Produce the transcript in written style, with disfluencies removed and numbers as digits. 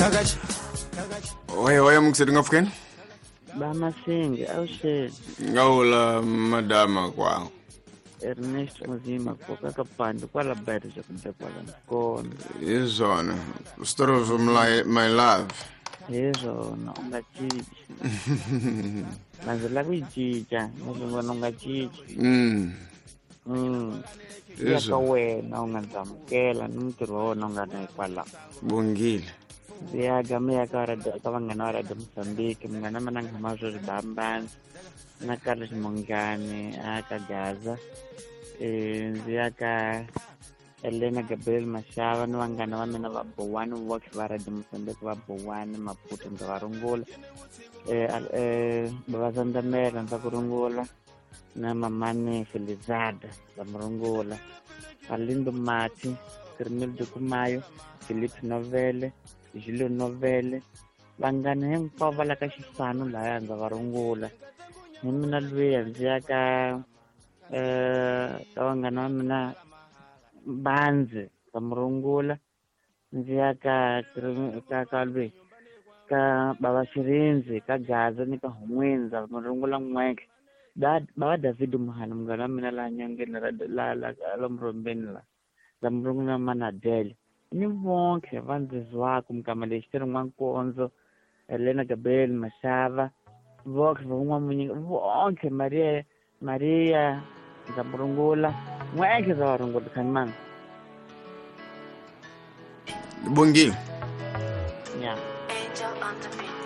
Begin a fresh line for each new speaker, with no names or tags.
Oye oye mukuseti ngapfukeni.
Bamasingi awuxeni.
Ngawula madama kwawo.
Ernest Muzima koka kapande kwala bayirija kumbe kwala mkono.
Hi swona. Story of my love.
Hi swona u nga cinci. Na ndzi lava ku yi cinca na swi vona u nga cinci.
Hi
Ya ka
swona.
wena u nga ndzi amukela ni mintirho wa wena u nga na hikwalaho.
Bongile.
Ndzi ya ka mi ya ka radio ka vanghana va Radio Mozambique, munghana wa mina nghama swo ribambana na Carlos Mongani a ka Gaza. Ndzi ya ka Elena Gabriel Mashava ni vanghana va mina va Bowani Works va Radio Mozambique va Bowani Maputo ndza va rungula. Bava Zandamela ndza ku rungula na mamani Felizada ndza mu rungula. Alindo Mati, Kirmil Dukumayo, Philip Novele, Julio Novele, vanghana hinkwavo va la ka xifano laya ndza va rungula. Hi mina luya ndzi ya ka ka vanghana va mina Bandzi ndza mu rungula. Ndzi ya ka ka ka lweyi ka Bava Xirindzi ka Gaza ni ka Hun'wini ndza mu rungula n'wentlhe. Bava David Muhani munghana wa mina laha nyongeni la la la murhombeni la ndza mu rungula Manadele. Ni vonke va ndzi zwaka mikama lexi ti ri N'wankondzo, Elena Gabriel Mashava, vonke va N'wamunyinga, vonke Maria Maria ndza mu rungula. N'wentlhe ndza va rungula khanimani.
Bongile.
Ya.
Angel on the beat.